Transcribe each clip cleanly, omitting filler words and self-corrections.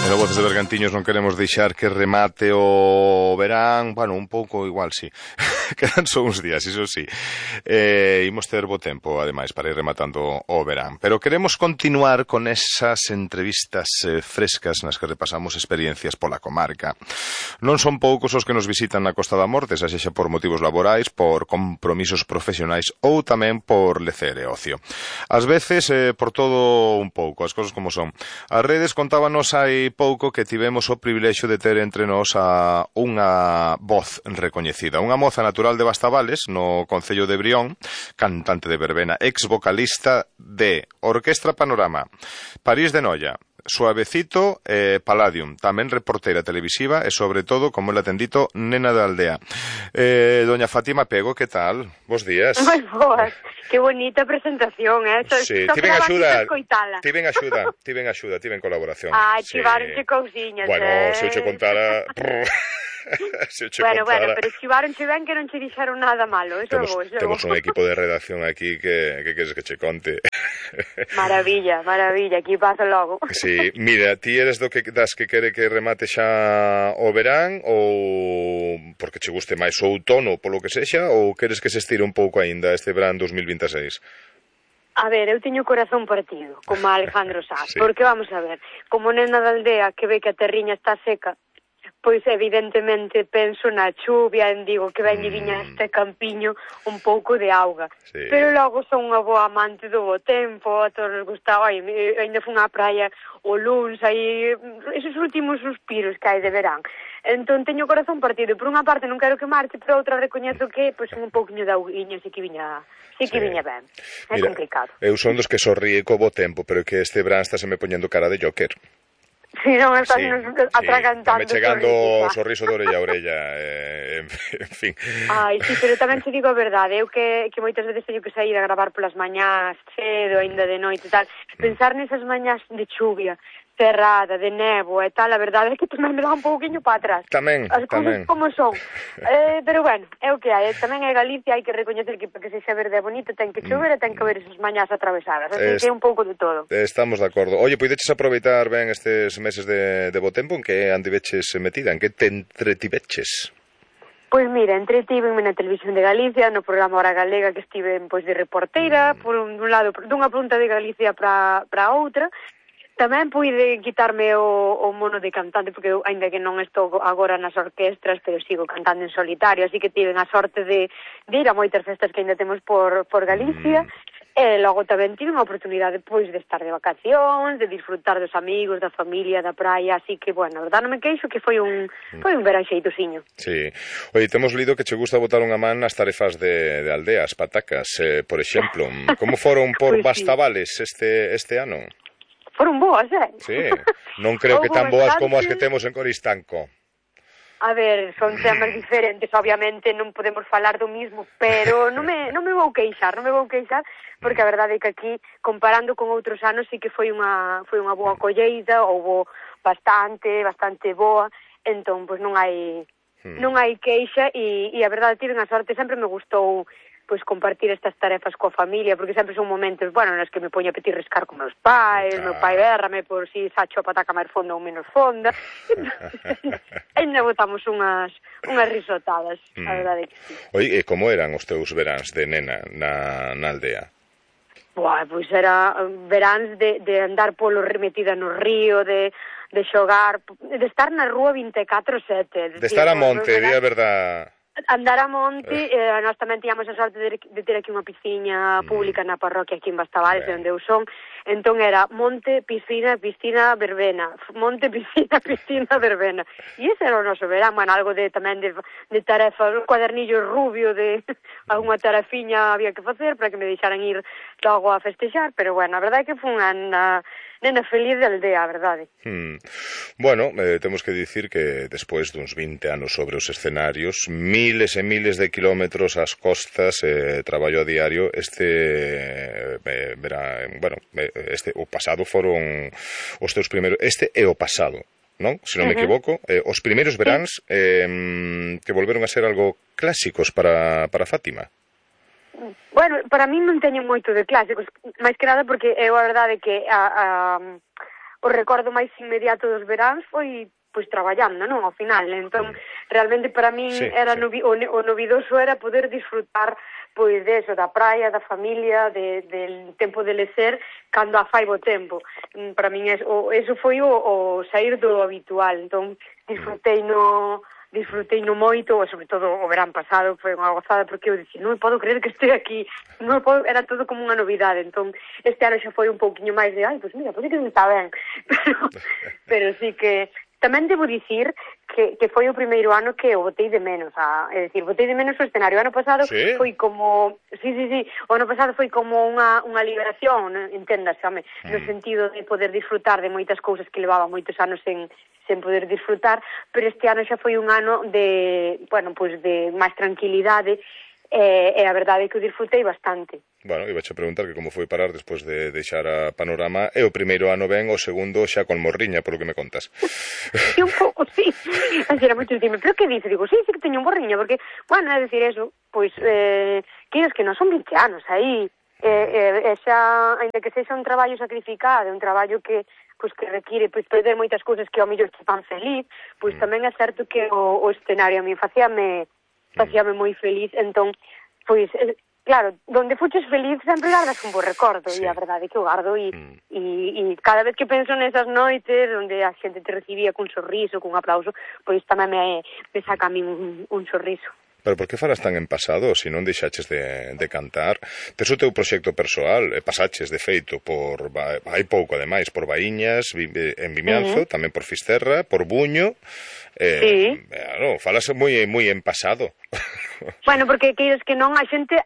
E no Voces de Bergantiños non queremos deixar que remate o verán, bueno, un pouco igual, sí. Quedan só uns días, iso sí. Imos ter bo tempo, ademais, para ir rematando o verán. Pero queremos continuar con esas entrevistas frescas nas que repasamos experiencias pola comarca. Non son poucos os que nos visitan na Costa da Morte, xa sexa por motivos laborais, por compromisos profesionais ou tamén por lecer e ocio. Ás veces, por todo un pouco, as cosas como son. As redes contábanos hai pouco que tivemos o privilexio de ter entre nós a unha voz recoñecida, unha moza natural de Bastavales, no concello de Brión, cantante de verbena, ex vocalista de Orquestra Panorama, París de Noia, Suavecito, Palladium, tamén reportera televisiva e sobre todo, como ela ten dito, nena da aldea. Doña Fátima Pego, que tal? Bos días. Moi boas, que bonita presentación, Sí, tiven axuda, tiven colaboración. Chivaronche cousiñas, Bueno, se eu che contara... Bueno, pero chivaronche ben que non che dixeron nada malo, eso temos un equipo de redacción aquí que queres que che conte. Maravilla, aquí paso logo. Sí, mira, ti eres das que quere que remate xa o verán ou porque che guste máis o outono polo que sexa ou queres que se estire un pouco aínda este verán 2026? A ver, eu teño o corazón partido, como Alejandro Sanz, sí. Porque vamos a ver, como nena da aldea que ve que a terriña está seca, pois evidentemente penso na chuvia, digo que venlle viña este campiño un pouco de auga. Sí. Pero logo son unha boa amante do bo tempo, a todos nos gustaba, ainda fun á praia o luns, aí esos últimos suspiros que hai de verán. Entón teño o corazón partido, por unha parte non quero que marche, por outra recoñezo que pois un pouquiño de auguiña sí que viña ben. É complicado. Eu son dos que sorríe co bo tempo, pero que este verán está se me poñendo cara de Joker. Si, non estás atragantando. Estame chegando o sorriso de orella a orella, en fin. Ai, sí, pero tamén te digo a verdade, eu que moitas veces teño que sair a gravar polas mañás, cedo, ainda de noite e tal, pensar nesas mañás de chuvia, cerrada, de néboa e tal, a verdade é que tamén me dá un pouquinho para atrás. Tamén. As cousas como son. Pero bueno, é o que hai. Tamén é Galicia, hai que recoñecer que para que sexa verde e bonito ten que chover e ten que haber esas mañás atravesadas. Así que é un pouco de todo. Estamos de acordo. Oye, poideches aproveitar ben estes meses de bo tempo, en que andiveches metida, en que te entretiveches? Pois mira, entretívenme na Televisión de Galicia, no programa Hora Galega, que estive pois de reporteira, por un lado, dunha punta de Galicia para outra. Tamén puide quitarme o mono de cantante, porque eu, ainda que non estou agora nas orquestras, pero sigo cantando en solitario, así que tiven a sorte de ir a moitas festas que ainda temos por Galicia, e logo tamén tive a oportunidade pois de estar de vacacións, de disfrutar dos amigos, da familia, da praia, así que, bueno, a verdade non me queixo que foi un verán xeitosiño. Sí. Oye, temos lido que che gusta botar unha man nas tarefas de aldea, as patacas, por exemplo. Como foron por Bastavales este ano? Foron boas, Sí, non creo que tan boas como as que temos en Coristanco. A ver, son temas diferentes, obviamente non podemos falar do mismo, pero non me vou queixar, porque a verdade é que aquí, comparando con outros anos, sí que foi unha boa colleita, houbo bastante boa, entón, pois non hai queixa, e a verdade, tiven a sorte, sempre me gustou pois compartir estas tarefas coa familia, porque sempre son momentos, bueno, nos que me poño a petirrescar con meus pais, meu pai berrame por si sacho a pataca máis fonda ou menos fonda, ainda botamos unhas risotadas, a verdade que sí. Oi, e como eran os teus veráns de nena na aldea? Pois era veráns de andar polo remetida no río, de xogar, de estar na rúa 24/7. De estar a monte, di a verdade. Andar a monte, nós tamén tiñamos a sorte de ter aquí unha pisciña pública na parroquia aquí en Bastavales, onde eu son, entón era monte, piscina, verbena, monte, piscina, verbena, e ese era o noso verán, bueno, algo tamén de tarefa, un cuadernillo rubio de alguna tarefiña había que facer para que me deixaran ir logo a festexar, pero bueno, a verdade é que foi unha nena feliz de aldea, a verdade. Bueno, temos que dicir que despois duns 20 anos sobre os escenarios, miles e miles de kilómetros ás costas, traballo a diario, o pasado foron os teus primeiros, este é o pasado, non? Se non me equivoco, os primeiros veráns que volveron a ser algo clásicos para Fátima. Bueno, para mí non teño moito de clásicos, máis que nada porque é a verdade que o recordo máis inmediato dos veráns foi pois traballando, non, ao final. Entón, realmente para min era o novidoso era poder disfrutar pois de eso, da praia, da familia, del tempo de lecer cando a fai bo tempo. Para min eso foi o sair do habitual. Entón, disfrutei no moito, e sobre todo o verán pasado foi unha gozada, porque eu dicía, non me podo creer que este aquí, era todo como unha novidade. Entón, este ano xa foi un pouquiño máis de, pois mira, pois é que non está ben. Pero sí que tamén debo dicir que foi o primeiro ano que o botei de menos, é dicir, botei de menos o escenario. O ano pasado foi como, o ano pasado foi como unha liberación, enténdase, no sentido de poder disfrutar de moitas cousas que levaba moitos anos sen poder disfrutar, pero este ano xa foi un ano de, pois de máis tranquilidade, e a verdade é que o disfrutei bastante. Bueno, iba a preguntar que como foi parar despois de deixar a Panorama, e o primeiro ano ben, o segundo xa con morriña, polo que me contas. Sí, un pouco, sí. Así era moito dicirme, pero que dice? Digo, sí que teño un morriña, porque, é dicir eso, pois, que non son 20 anos aí, e xa, ainda que sexa un traballo sacrificado, un traballo que require perder moitas cousas que ao mellor te fan feliz, pois tamén é certo que o escenario a mí facíame moi feliz. Entón, pois, claro, donde fuches feliz sempre gardas un bo recordo, e a verdade é que o gardo, e cada vez que penso nesas noites onde a xente te recibía cun sorriso, cun aplauso, pois tamén me saca a mí un sorriso. Pero por que falas tan en pasado, se non deixaches de cantar? Tes o teu proxecto persoal, e pasaches, de feito, hai pouco, ademais, por Baíñas, en Vimianzo, tamén por Fisterra, por Buño, falas moi en pasado. Bueno, porque queires que non, a xente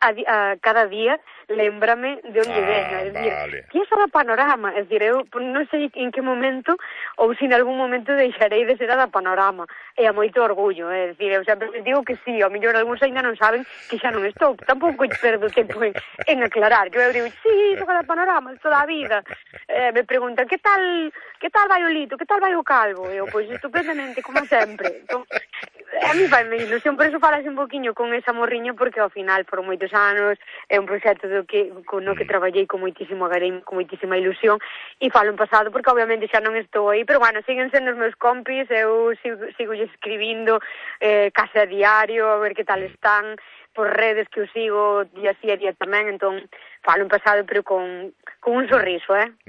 cada día lémbrame de onde venho, é dicir, que é da Panorama, é dicir, eu non sei en que momento ou se en algún momento deixarei de ser a da Panorama, e a moito orgullo, é dicir, eu sempre digo que sí, ao mellor algúns ainda non saben que xa non estou, tampouco perdo tempo en aclarar, que eu digo, sí, sou da Panorama, toda a vida, me preguntan, que tal vai o Lito, que tal vai o Calvo, eu, pois, estupendamente, como sempre. Entón, a mí vai me ilusión, por eso falas un poquinho con esa morriña, porque ao final, por moitos anos, é un proxecto no que traballei con moitísimo agarimo, con moitísima ilusión, e falo en pasado porque obviamente xa non estou aí, pero siguen sendo os meus compis, eu sigo escribindo case a diario, a ver que tal están, por redes que eu sigo día sí e día tamén, entón falo en pasado, pero con un sorriso, Ben.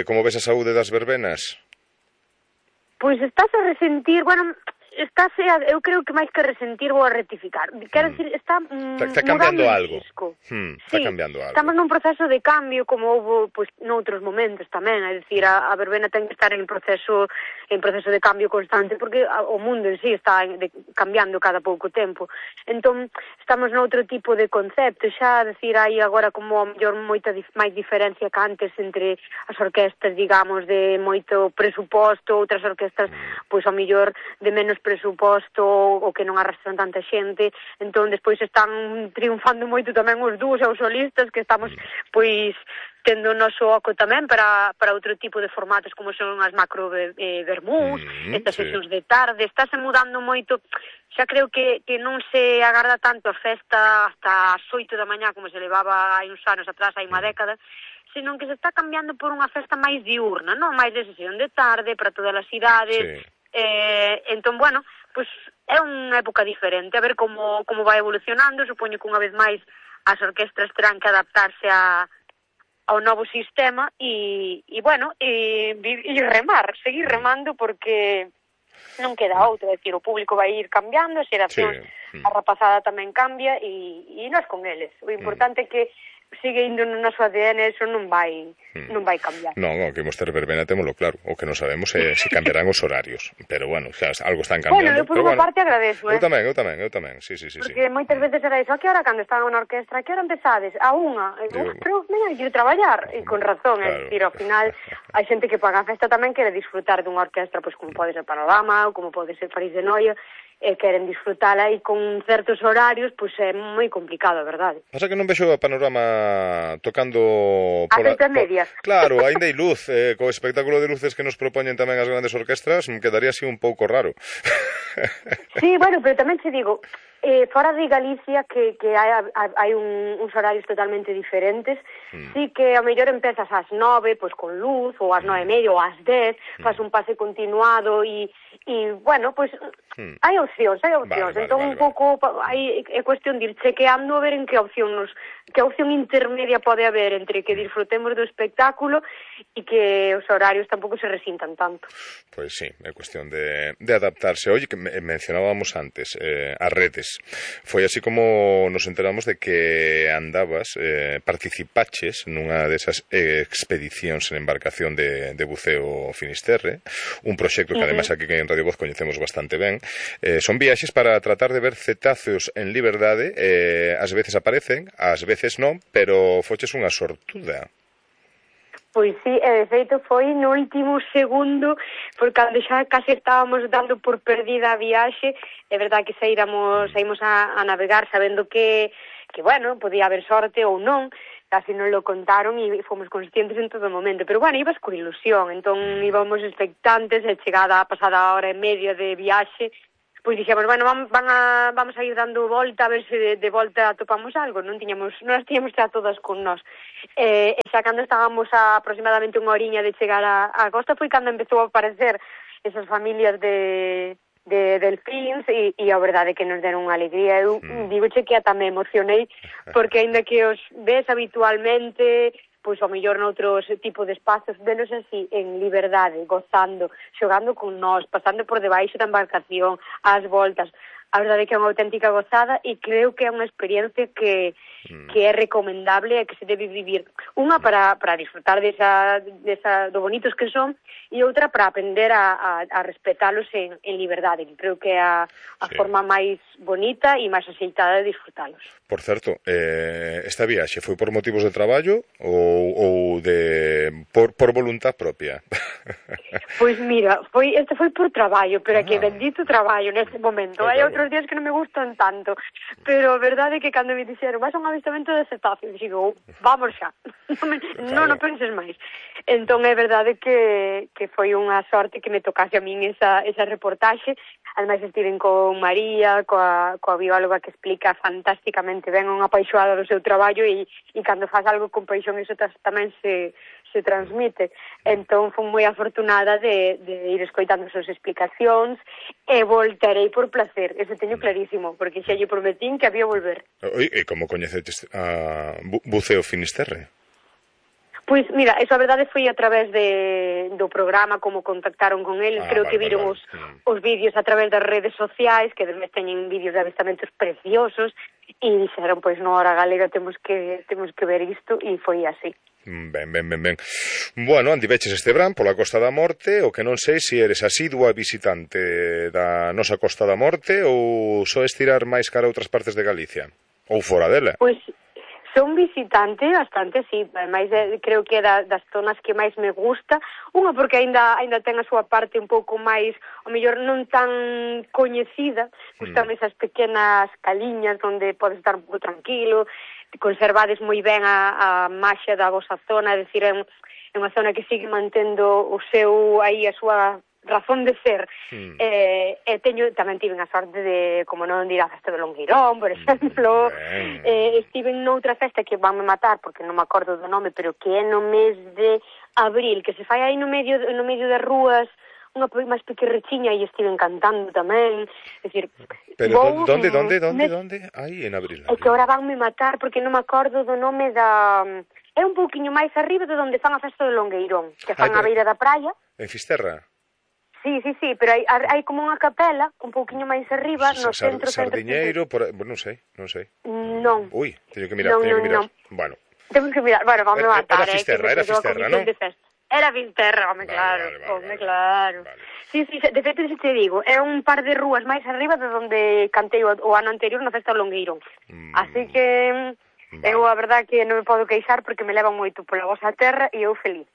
Como ves a saúde das verbenas? Pois estás a resentir, eu creo que máis que resentir vou a rectificar. Quero dicir, está cambiando algo. Está cambiando algo. Estamos nun proceso de cambio, como houve noutros momentos tamén, é dicir, a verbena ten que estar en proceso de cambio constante, porque o mundo en sí está cambiando cada pouco tempo. Entón, estamos noutro tipo de concepto, xa, dicir, hai agora como a mellor moita máis diferencia que antes entre as orquestas, digamos, de moito presuposto, outras orquestas, pois, a mellor de menos presuposto ou que non arrastran tanta xente. Entón, despois están triunfando moito tamén os dúos e os solistas, que estamos, pois, tendo o noso oco tamén para outro tipo de formatos, como son as macro vermús, estas sesións de tarde. Estáse mudando moito, xa creo que non se agarda tanto a festa hasta as 8 da mañá, como se levaba hai uns anos atrás, hai unha década, senón que se está cambiando por unha festa máis diurna, non? Máis de sesión de tarde para todas as idades. Entón, pois é unha época diferente, a ver como vai evolucionando. Supoño que unha vez máis as orquestras terán que adaptarse ao novo sistema e seguir remando, porque non queda outro, é dicir, o público vai ir cambiando, as xeracións, a rapazada tamén cambia e nós con eles. O importante é que sigue indo no noso ADN, eso non vai cambiar. Non, o que imos ter verbena témolo claro, o que non sabemos é se cambiarán os horarios, pero xa algo están cambiando. Eu por unha parte agradezo, Eu tamén, sí. Porque moitas veces era iso, a que hora cando estaban na orquestra, a que hora empezades? A unha, pero mira, quero traballar, e con razón, é dicir, ao final, hai xente que paga a festa tamén quere disfrutar dunha orquestra, pois como pode ser Panorama, ou como pode ser París de Noia, e queren disfrutala, e con certos horarios, pois é moi complicado, a verdade. Pasa que non vexo a Panorama tocando a sete medias. Claro, ainda hai luz, co espectáculo de luces que nos propoñen tamén as grandes orquestras, me quedaría así un pouco raro. Sí, bueno, pero tamén te digo, fora de Galicia que hai uns horarios totalmente diferentes, sí que a mellor empezas ás 9, pois con luz, ou ás 9:30, ou ás 10, fas un pase continuado e bueno, pois hai opcións, entón un pouco é cuestión de ir chequeando a ver en que opción intermedia pode haber entre que disfrutemos do espectáculo e que os horarios tampouco se resintan tanto. Pois sí, é cuestión de adaptarse. Oye, que mencionábamos antes as redes. Foi así como nos enteramos de que andabas, participaches nunha desas expedicións en embarcación de buceo Finisterre, un proxecto que ademais aquí en Radio Voz coñecemos bastante ben. Son viaxes para tratar de ver cetáceos en liberdade, ás veces aparecen, ás veces non, pero foches unha sortuda. Pois sí, e de feito foi no último segundo, por cando xa case estábamos dando por perdida a viaxe, é verdad que saímos a navegar sabendo que bueno, podía haber sorte ou non, casi non lo contaron e fomos conscientes en todo momento, pero bueno, ibas con ilusión, entón íbamos expectantes, e chegada a pasada a hora e media de viaxe, pois dixemos, bueno, vamos a ir dando volta a ver se de volta atopamos algo, non as tiñamos xa todas con nós. E xa cando estábamos a aproximadamente unha horiña de chegar a costa foi cando empezou a aparecer esas familias de delfíns e a verdade que nos deron unha alegría. Eu digoche que tamén emocionei porque aínda que os ves habitualmente, pois ao mellor noutros tipo de espazos, velos así, en liberdade, gozando, xogando con nós, pasando por debaixo da embarcación, ás voltas. A verdade é que é unha auténtica gozada e creo que é unha experiencia que é recomendable e que se debe vivir. Unha para disfrutar do bonitos que son e outra para aprender a respetalos en liberdade. Creo que é a forma máis bonita e máis axeitada de disfrutalos. Por certo, esta viaxe foi por motivos de traballo ou por voluntad propia? Pois mira, este foi por traballo, pero que bendito traballo neste momento. Hai outros días que non me gustan tanto, pero a verdade é que cando me dixeron vas a un avistamento de cetáceos, digo, vamos xa, non penses máis. Entón é verdade que foi unha sorte que me tocase a min esa reportaxe. Ademais estiven con María, coa bióloga que explica fantásticamente ben, unha apaixoada do seu traballo e cando faz algo con paixón iso tamén se transmite. Entón fui moi afortunada de ir escoitando as súas explicacións e voltarei por placer, eso teño clarísimo, porque xa lle prometín que había volver. E como coñecetes a Buceo Finisterre? Pois mira, eso a verdade foi a través do programa, como contactaron con eles, creo que viron os vídeos a través das redes sociais, que despois teñen vídeos de avistamentos preciosos, e dixeron, pois no Hora Galega temos que ver isto, e foi así. Ben. Bueno, andiveches este verán pola Costa da Morte, o que non sei se eres asidua visitante da nosa Costa da Morte ou só estirar máis cara a outras partes de Galicia, ou fora dela. Pois son visitante bastante, sí, ademais creo que é das zonas que máis me gusta, unha porque aínda ten a súa parte un pouco máis, ao mellor non tan coñecida, gustan esas pequenas caliñas onde podes estar un pouco tranquilo, conservades moi ben a maxia da vosa zona, é dicir, é unha zona que sigue mantendo a súa razón de ser. Tamén tiven a sorte de, como non dir, a festa do Longueirón, por exemplo. Estiven noutra festa que vanme matar, porque non me acordo do nome, pero que é no mes de abril, que se fai aí no medio das rúas, unha máis pequerrechiña, e estiven cantando tamén. É dicir, pero donde? Aí en abril. É que ahora vanme matar, porque non me acordo do nome da... É un pouquiño máis arriba de onde fan a festa do Longueirón, que fan a beira da praia. En Fisterra? Sí, pero hai como unha capela un pouquiño máis arriba, no centro. Sardiñeiro, non sei. Non. Ui, teño que mirar. Bueno. Temos que mirar, bueno, vamos a matar. Era Fisterra, non? Era Fisterra, home, claro. Vale. Sí, de feito, se te digo, é un par de rúas máis arriba de onde cantei o ano anterior na festa do Longueirón. Así que... Eu a verdad que non me podo queixar porque me levan moito pola vosa terra e eu feliz.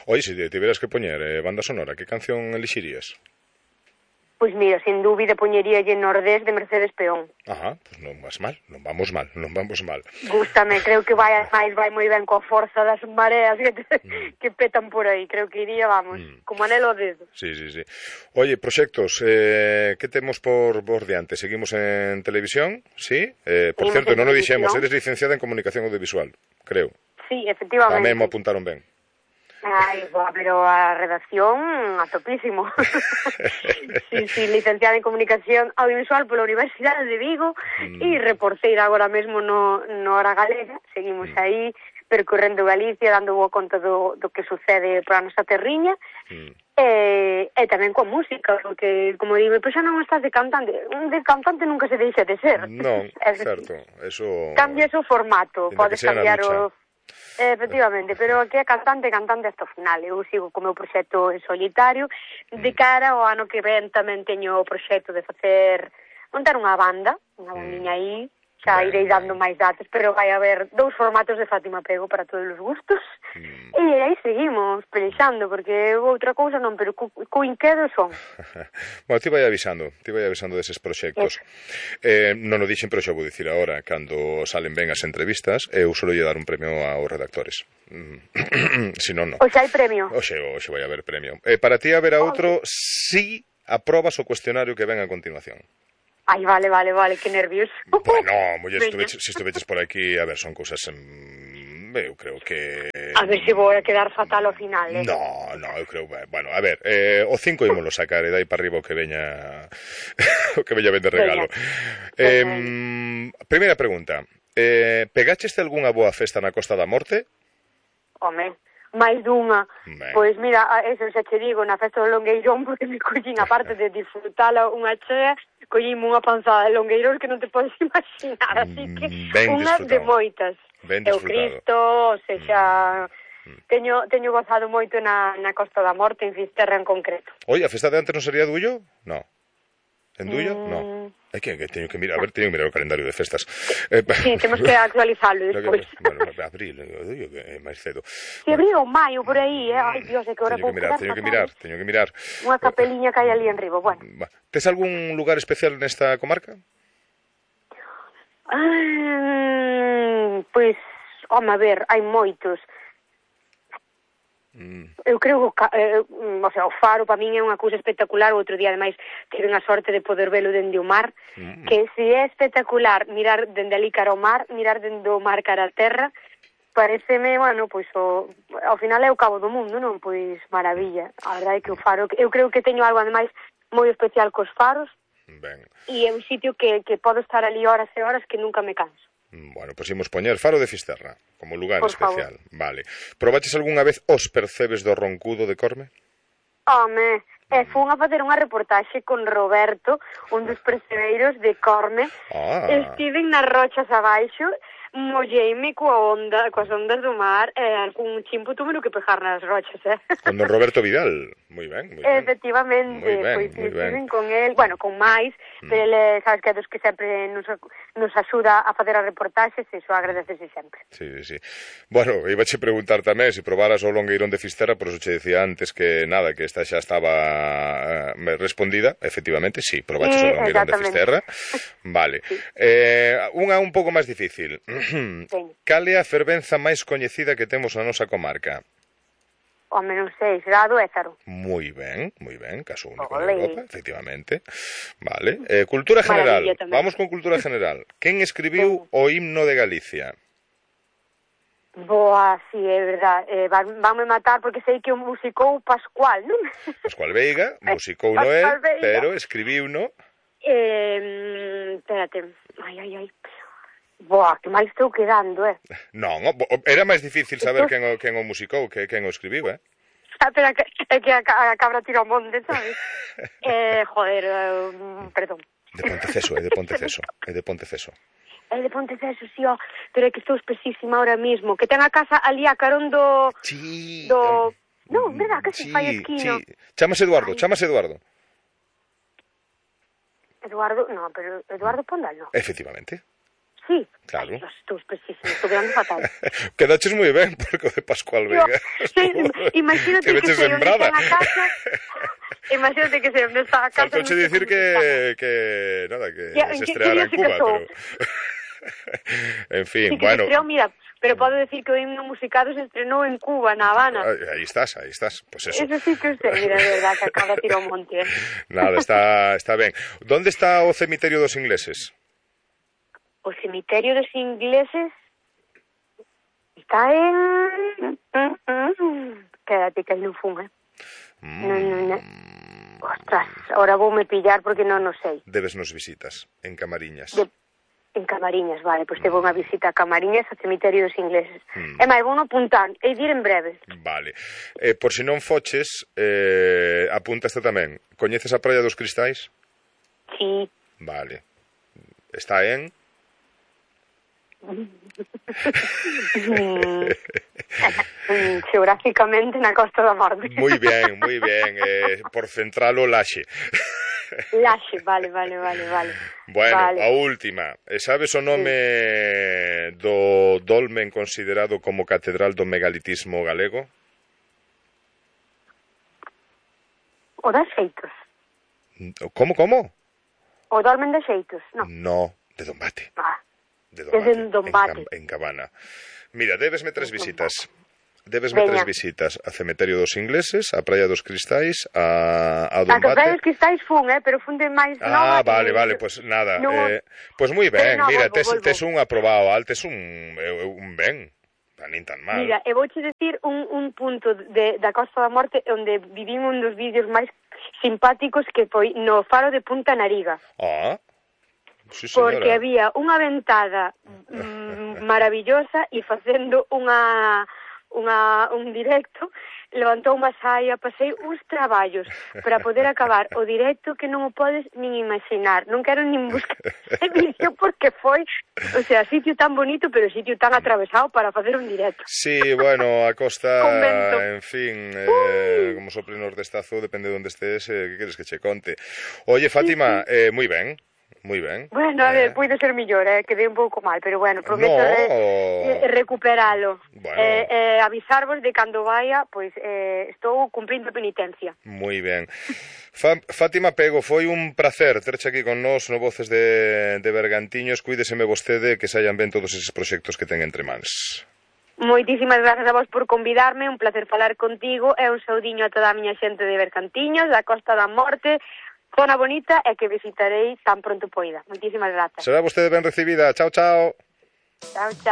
Oye, se tiveras que poñer banda sonora, que canción elixirías? Pois mira, sin dúbida poñeríalle Nordés de Mercedes Peón. Ajá, pois non vas mal, non vamos mal. Gústame, creo que vai moi ben coa forza das mareas que petan por aí. Creo que iría, vamos, como anelo o dedo. Sí. Oye, proxectos, que temos por diante? Seguimos en televisión, sí? Por certo, non o dixemos, eres licenciada en Comunicación Audiovisual, creo. Sí, efectivamente. Tamén mo apuntaron ben. Ai, boa, pero a redacción a topísimo. sí, licenciada en Comunicación Audiovisual pola Universidade de Vigo e reporteira agora mesmo no Hora Galega. Seguimos aí percorrendo Galicia, dando boa conta do que sucede para a nosa terriña. E tamén coa música, porque, como digo, pois xa non estás de cantante. De cantante nunca se deixa de ser. Non, certo. Eso... Cambias o formato, podes cambiar o... Efectivamente, pero aquí é cantante hasta o final. Eu sigo co meu proxecto en solitario. De cara ao ano que ven tamén teño o proxecto de montar unha bandiña aí. Xa irei dando máis datos, pero vai haber 2 formatos de Fátima Pego para todos os gustos. E aí seguimos pelexando, porque outra cousa non, pero co inquedo son. Bueno, ti vai avisando deses proxectos. Non o dixen, pero xa vou dicir agora, cando salen ben as entrevistas, eu solo lle dar un premio aos redactores. Si non, non. Oxe, hai premio. Oxe vai haber premio. Para ti haberá outro si aprobas o cuestionario que ven a continuación. Ai, vale, que nervios. Bueno, muller, se estuveches por aquí, a ver, son cousas... eu creo que... A ver se vou a quedar fatal ao final, No, eu creo... Bueno, a ver, o 5 ímolo sacar, e dai para arriba o que veña... o que veña ben de regalo. Primeira pregunta. Pegacheste algunha boa festa na Costa da Morte? Home, máis dunha. Pois mira, eso xa che digo, na festa do Longueirón, porque me collín, aparte de disfrutala unha chea, collín unha panzada de longueiros que non te podes imaginar, así que unha de moitas. O Cristo, ou seja, teño gozado moito na Costa da Morte, en Fisterra en concreto. Oi, a festa de antes non sería Dullo? No. En Dullo? No. É que teño que mirar, teño que mirar o calendario de festas. Sí, temos que actualizarlo despois. Bueno, abril, Dullo que é máis cedo. Si abril ou maio, por aí, ai, Dios, é que ahora teño que mirar. Unha capeliña que hai ali en riba, bueno. Tes algún lugar especial nesta comarca? Pois, home, a ver, hai moitos. Eu creo que o Faro para min é unha cousa espectacular. O outro día ademais tive a sorte de poder velo dende o mar, que se é espectacular mirar dende ali cara ao mar, mirar dende o mar cara a terra, pareceme, bueno, pois ao final é o cabo do mundo, non? Pois maravilla. A verdade é que o Faro, eu creo que teño algo ademais moi especial cos faros. E é un sitio que podo estar ali horas e horas que nunca me canso. Bueno, pois imos poñer Faro de Fisterra como lugar por especial. Favor. Vale. Probaches algunha vez os percebes do Roncudo de Corme? Home, fun a facer unha reportaxe con Roberto, un dos percebeiros de Corme. Estiven nas rochas abaixo, molleime coas ondas do mar, e algún chimpo túmelo que pegar nas rochas, Con don Roberto Vidal, moi ben. Efectivamente, pois estiven con el, bueno, con máis, pero ele, sabes que é dos que sempre nos axuda a facer as reportaxes, e iso agradecese sempre. Sí. Bueno, iba che preguntar tamén se probaras o Longueirón de Fisterra, por eso che decía antes que nada, que esta xa estaba respondida, efectivamente, sí, probaches o Longueirón de Fisterra. Vale. Unha un pouco máis difícil. Cal é a fervenza máis coñecida que temos na nosa comarca? Home, non sei, será a do Ézaro. Moi ben, caso único en Europa, efectivamente. Vale. Cultura general, vamos con cultura general. Quen escribiu o himno de Galicia? Boa, sí, é verdad. Vanme matar porque sei que o musicou Pascual, non? Pascual Veiga, musicou no él, pero escribiu no... Espérate, ai. Boa, que mal estou quedando, Non, era máis difícil saber quen o musicou que quen o escribiu, Pero é que a cabra tira o monte, sabes? Joder, perdón. De Ponteceso, é de Ponteceso. É de Ponteceso, sí, pero é que estou espesísima ahora mismo, que ten a casa ali a carón do... Sí. Non, verdad, que se fai esquino. Sí, chámase Eduardo. Eduardo, no, pero Eduardo Pondal, no. Efectivamente. Sí, claro. Ay, estou espesísimo, estou quedando fatal. Quedaches moi ben, porque o de Pascual Veiga. Sí, imagínate que se o ten a casa. Imagínate que se nesta casa... Faltouche dicir que nada, que se estreara en Cuba, pero... En fin, sí, que bueno... se estreou, mira, pero podo decir que o himno musicado se estrenou en Cuba, na Habana. Aí estás, pues eso. Eso sí que sei, mira, de verdad, que acaba de tirar un monte. Nada, está ben. Donde está o cemiterio dos ingleses? O cemiterio dos ingleses está en... Quédate que non fun, Non. Ostras, ahora voume pillar porque non o sei. Debes nos visitas, en Camariñas. En Camariñas, vale, pois te vou unha visita a Camariñas, ao cemiterio dos ingleses. E máis, vou apuntar, e dir en breve. Vale. Por si non foches, apúntaste tamén. Coñeces a Praia dos Cristais? Sí. Vale. Está en... Xeográficamente na Costa da Morte. Moi ben, por central o Laxe. Laxe, vale. Bueno, vale. A última. Sabes o nome do dolmen considerado como catedral do megalitismo galego? O das Xeitos. Como? O dolmen de Xeitos, non? No, de Dombate. Desde Dombate. En Cabana. Mira, debesme tres visitas. Tres visitas a Cemiterio dos Ingleses, a Praia dos Cristais, a Dombate. A Praia dos Cristais fun, pero fun de máis nova. Vale, pues nada. Pues moi ben, mira, tes un aprobado, tes un ben. Nin tan mal. Mira, e vouche decir un punto da Costa da Morte onde vivín un dos vídeos máis simpáticos que foi no faro de Punta Nariga. Sí, señora. Porque había unha ventada maravillosa e facendo un directo, levantou unha saia, pasei uns traballos para poder acabar o directo que non o podes nin imaginar. Non quero nin buscar ese vídeo porque foi, o sea, sitio tan bonito, pero sitio tan atravesado para facer un directo. Sí, bueno, a costa, Convento. en fin, como sopre nordestazo, depende de onde estés, que queres que che conte. Oye, Fátima, moi ben. Bueno, a ver, puido ser millor, quedei un pouco mal, pero bueno, prometo recuperalo. Bueno. Avisarvos de cando vaya, pois estou cumprindo penitencia. Moi ben. Fátima Pego, foi un placer terche aquí con nós no Voces de Bergantiños. Cuídeseme vostede que saian ben todos eses proxectos que ten entre mans. Moitísimas grazas a vos por convidarme, un placer falar contigo e un saudiño a toda a miña xente de Bergantiños, da Costa da Morte, zona bonita e que visitarei tan pronto poida. Moitísimas grazas. Será vostede ben recibida. Chao. Chao.